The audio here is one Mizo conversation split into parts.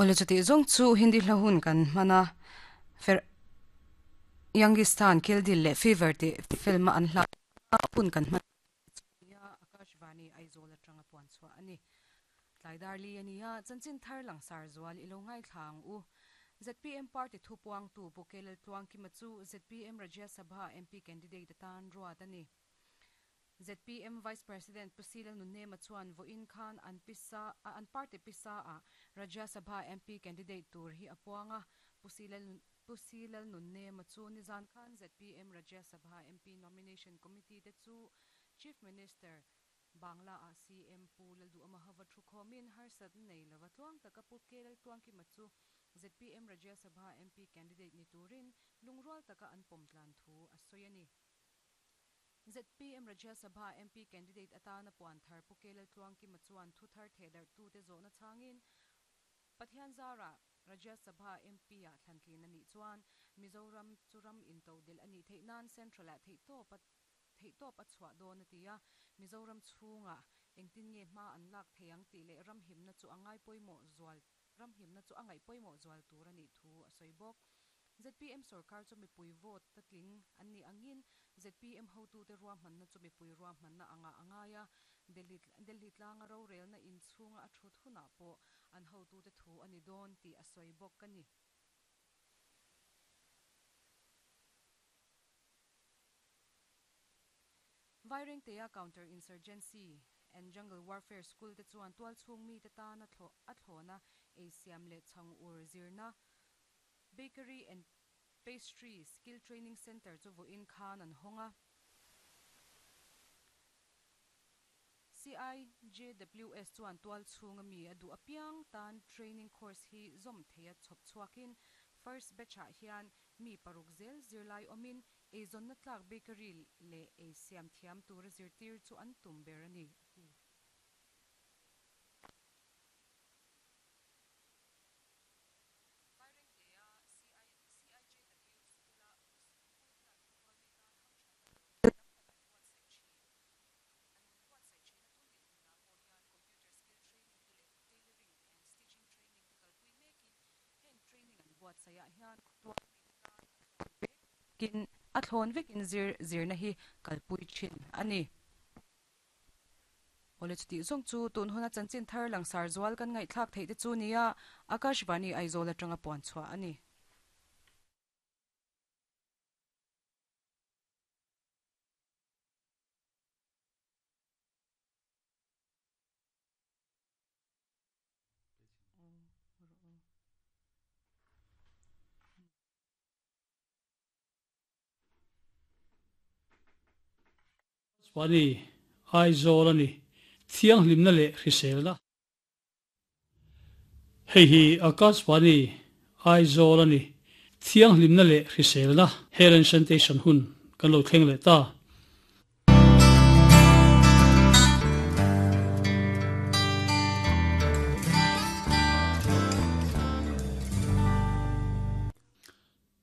Awle chutih zawng chu Hindi hla hun kan hman a, Fer Youngistan, Kill Dil leh Fever tih film a an hla hun kan hman chu nia Akashvani Aizawl atanga puan chhuah a ni. Tlai dar li a ni a, chanchin thar langsar zual i lo ngaithla ang u. Zpm party thupuangtu Pu Kelal Tluangkima chu zpm Rajya Sabha MP candidate atan ruat a ni. Zpm Vice President Pu Sila Nunema chuan vawiin khan an pisa an party pisa ah Rajya Sabha MP candidate tur hi a puang a, Pu Sila Pu Sila Nunema chu nizan khan zpm Rajya Sabha MP Nomination Committee te chu Chief Minister Bangla ah CM Pu Lalduhama hova thukhawmin harsatna nei lova tluang taka Pu K Laltluangkima chu zpm Rajya Sabha MP candidate ni turin lungrual taka an pawm tlan thu a sawi a ni. Zpm Rajya Sabha MP candidate atana puan thar Pu K Laltluangkima chuan thu thar thehdarhtute zawhna chhangin Pathian zarah Rajya Sabha MP-ah thlantlin a nih chuan Mizoram chu ram intodelh a nih theih nan Central-ah theihtawp a theihtawp a chhuah dawn a ti a, Mizoram chhungah engtin nge hma an lak thei ang tih leh ram himna chu a ngai pawimawh zual ram himna chu a ngaih pawimawh zual tur a nih thu a sawi bawk. Zpm sorkar chu mipui vote ta tling an nih angin zpm hotute ruahmanna chu mipui ruahmanna angah a ngai a, Delhi Delhi tlanga rorelna inchhunga a thut hunah pawh an hotute thu a ni dawn tih a sawi bawk a ni. Vairengtea Counter Insurgency and Jungle Warfare School te chuan tualchhung mite tan a thlawna eisiam leh chhang ur zirna Bakery and Pastry Skill Training Centre chu vawiin khan an hawng a. CIJWS chuan tualchhunga mi a duh apiang tan training course hi zawm theia chhawp chhuakin first batch-ah hian mi paruk zel zirlai awmin eizawnna tlak bakery leh ei siam thiam tura zirtir chu an tum ber a ni, a ti. Vairengtea CIJW School-a School hian khua mi tan hamthatna tur tam tak an buatsaih thin. An buatsaih thin a tun dinhmunah pawh hian computer skill training te leh tailoring and stitching training te kalpui mekin heng training an buatsaihah hian khawtual mite tan a thlawn vekin a thlawn vekin zir zirna hi kalpui thin a ni. Awle chutih zawng chu tun huna chanchin thar langsar zual kan ngaihthlak theih te chu nia Akashvani Aizawl atanga puan chhuah a ni. Pani, Aizawl a ni. Thianghlimna leh hriselna. Hei hi Akashvani, Aizawl a ni. Thianghlimna leh hriselna Health and Sanitation hun kan lo thleng leh ta.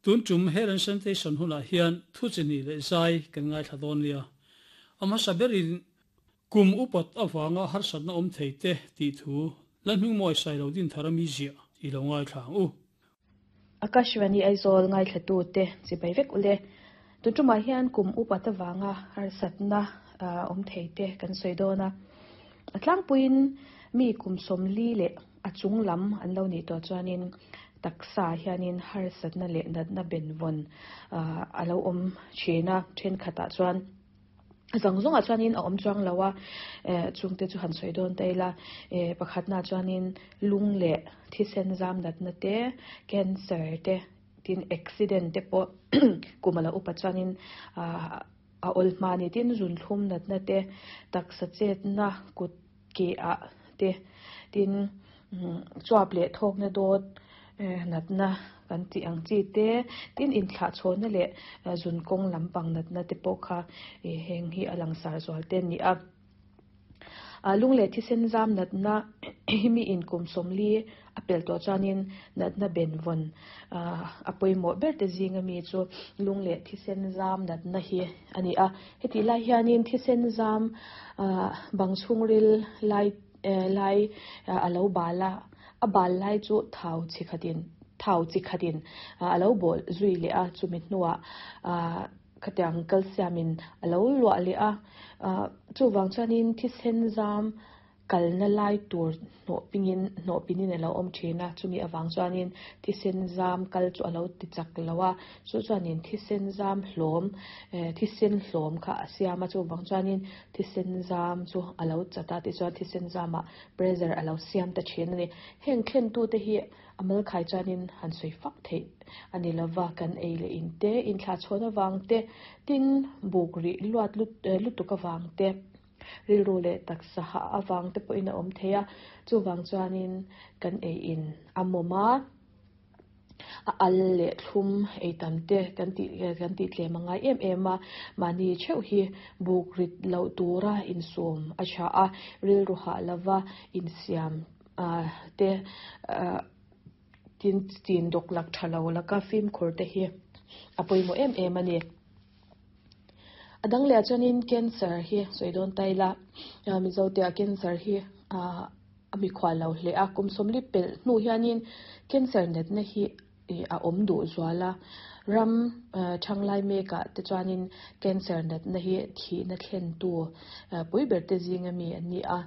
Tun tum Health and Sanitation hunah hian thu chi hnih leh zai kan ngaithla dawn nia. A hmasa berin kum upat avanga harsatna awm thei te tih thu Lalhmingmawi Sailo Dinthara mi ziah i lo ngaithla ang u. Akashvani Aizawl ngaithlatute chibai vek ule. Tun tumah hian kum upat avanga harsatna awm thei te kan sawi dawn a. A tlangpuiin mi kum 40 leh a chung lam an lo nih tawh chuanin taksa hianin harsatna leh natna benvawn a lo awm thin a, thenkhatah chuan A zawng zawngah chuanin a awm chuang lo a, eh chungte chu han sawi dawn ta ila, eh pakhatnaah chuanin lung leh thisen zam natna te, cancer te, tin accident te pawh kum a lo upa chuanin ah a awl hma a ni. Tin zunthlum natna te, taksa chetna kut ke ah te, tin chuap leh thawkna dawt natna kan tih ang chi te, tin inthlahchhawnna leh zun kawng lampang natna te pawh kha heng hi a langsar zual te a ni a. Lung leh thisen zam natna hi mi inkum 40 a pel tawh chuanin natna benvawn a pawimawh ber te zinga mi chu lung leh thisen zam natna hi a ni a. Hetih lai hianin thisen zam bang chhungril lai lai a lo bal a. A bal lai chu thau chi khatin thau chi khatin a lo bawl zui leh a, chumi hnuah khatiang calcium-in a lo luah leh a. Chuvang chuanin thisen zam kalna lai tur hnawh pingin hnawh pinin a lo awm thin a, chumi avang chuanin thisen zam kal chu a lo ti chak lo a, chu chuanin thisen zam hlawm thisen hlawm kha a siam a, chuvang chuanin thisen zam chu a lo chat a, tichuan thisen zamah pressure a lo siam ta thin a ni. Heng thlentute hi a malkhai chuanin han sawi fak theih a ni lova, kan ei leh in te, inthlahchhawn avang te, tin buk rih luat lutuk avang te, Rilru leh taksa hah avang te pawhin a awm thei a, chuvang chuanin kan ei in a mawm a, a al leh thlum ei tam te kan tih kan tih tlem a ngai em em a, mahni theuh hi buk rit loh tura insum a tha a, rilru hah lova insiam te tin chin dawk lak tha lo laka fimkhur te hi a pawimawh em em a ni. A dang leh ah chuanin cancer hi sawi dawn ta ila, Mizo te ah cancer hi a mikhual lo hle a, kum sawmli pelh hnu hianin cancer natna hi a awm duh zual a, ram thanglai mek ah te chuanin cancer natna hi thihna thlentu pui ber te zing ami an ni a.